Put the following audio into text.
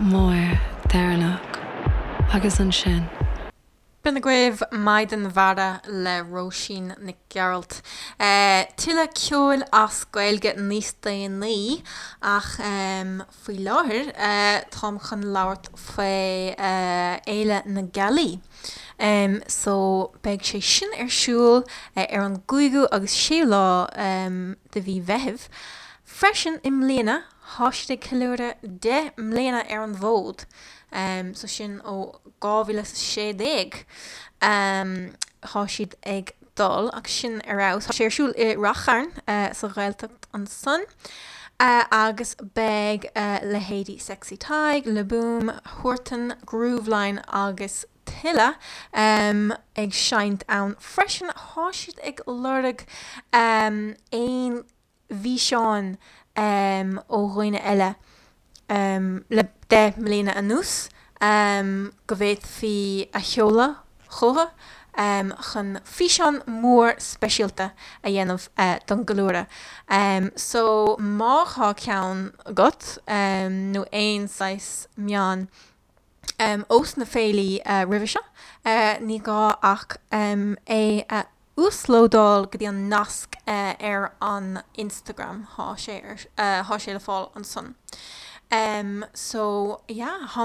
mór deireanach agus ansin. B'in agaibh Maighdean Mhara le Róisín Nic Gearailt. Tuilleadh ceoil as Gaeilge níos déanaí ach faoi láthair táim chun labhairt faoi Fhéile na Gealaí. So beidh sé sin ar siúl ar an gcúigiú agus séú lá de mhí Mheithimh. Freisin i mbliana thá siad ag ceiliúradh 10 mbliana ar an bhfód. So sin ó 2016 thá siad ag dul agus sin ar fheabhas. Tá sé ar siúl i Rath Chairn sa Ghaeltacht ansan agus beidh leithéidí Sexy Tadhg, Le Boom, Huartan, Grooveline agus tuilleadh ag seinnt ann freisin. Thá siad ag lorg aon bhfíseáin ó dhaoine eile le 10 mbliana anuas go bhféadfaí a sheoladh chucu chun físeán mór speisialta a dhéanamh don gceiliúradh. So má thá ceann agat nó aon saghas meán ós na féilí roimhe seo, ní gá ach é a uaslódáil go dtí an nasc ar an Instagram, thá sé ar, thá sé le fáil ansan. So yeah, thá.